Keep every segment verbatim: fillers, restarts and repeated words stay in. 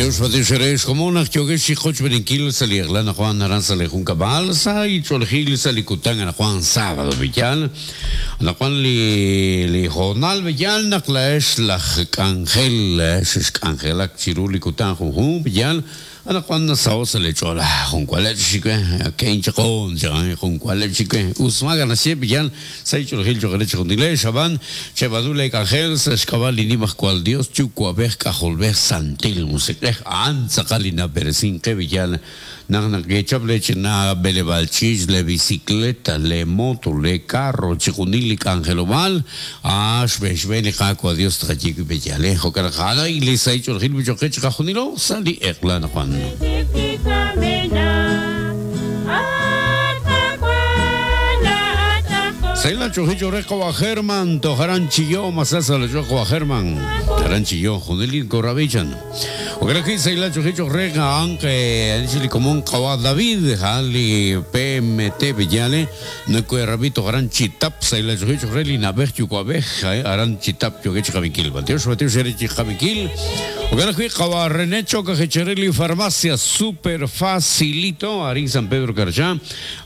Dios Batixerex, como una yogeshi qochberinkil sali eglana Juan aran sali junkabal sa icholgil sali kutang ana Juan sábado villal ana Juan li li jornal villal naqlaesh laj k'anjel xk'anjelak chiru li kutan junjun villal ana Juan nasao sali chola junkualech xikwe kein chaqon chan junkualech xikwe usmaga nasye villal sa icholgil choqerech juntile xaban chebadule k'anjel sa xk'abal linimaj cual Dios chukuabej k'ajolbej santil musiq'ej an tzaqalina peresin qe villal naq naq lech na belebalchich le bicicleta le moto le carro chiqunil li k'anjelob'al a xb'exb'en li qakwa Dios tqachik bellale jo'kan y li saych'oljil bichoqech qajunilo sali eqlan Juan. Sayla chojicho reco a German tojaran chillo masasa le choco a German taran chillo junilin corrabichan o creo que sayla chojicho rega aunque anchili común kawa David jali P M T villale no cuerrabito gran chitap sayla chojicho reli nabej yucuabej aran chitap yoquech jabiquil banteo bateo xerich jabiquil o creo que kawa René Choca Jechereli farmacia super facilito arin San Pedro Carchá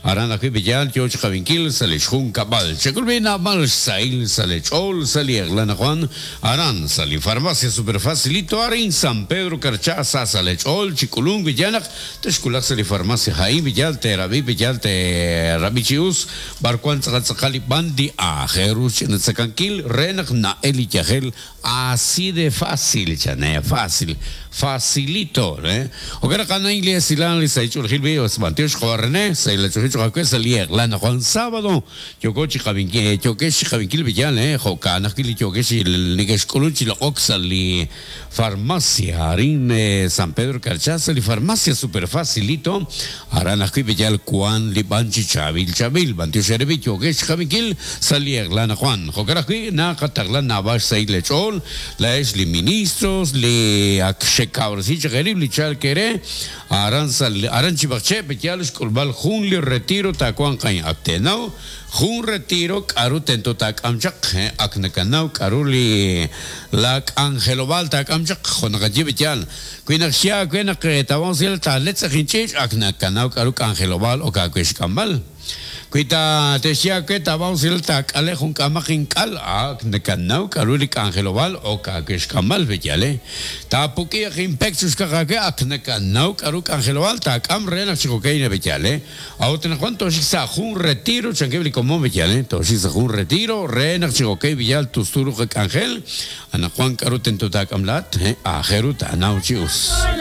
aran aquí villal yoch jabiquil salechjun cabal Checulvina mal sail salechol saliaglana Juan aran sali farmacia super facilito arin San Pedro Carchá salechol chiculung villanak teshkulak sali farmacia jaim villal terabi villal terabichius barcuan tzakali bandi a jeruch netzakanquil renak na eli yajel así de fácil chane fácil facilito eh o que cana inglés ilan li saichul gilbi os bantiosh jorne saila chuchu jakwe saliaglana Juan sábado yokochi Javinquil, yokesh Javinquil Villal, eh, Jocana, Yokesh, Nikesh Coluchi, la Oxali, Farmacia, Arin, San Pedro Carchá, li Farmacia super facilito, Arana Villal, Juan, Libanchi, Chavil, Chavil, Bantio Sherebi, Yokesh Javinquil, Saliaglana Juan, Jocarajui, Nakataglan, Navash, Sailechol, la Esli Ministros, li Akshekabrsicha, Jerib, Lichal Kere, Aran Aranchibache, Villal, Skulbal, Junli, Retiro, Tacuan, Cañ, Actenau, Jun retiro karu tento tak amchak aknakanau karuli lak angelobal tak amchak jonakachibichal kuinakxia kuinak tawansil taletzakinchich aknakanau karu angelobal o kakuixkambal kuita texia que tawansil tak alejun kamakinkal aknakanau karuli angelobal o kakuixkambal bechale tapuki impexus kakake aknakanau karu angelobal tak amrenak chikokeina bechale auten cuanto xisa jun retiro chanquebli como bechale toxisa jun retiro renak chikokei villal tusturu angel ana Juan karu tento tak amlat ajeru tanau chius.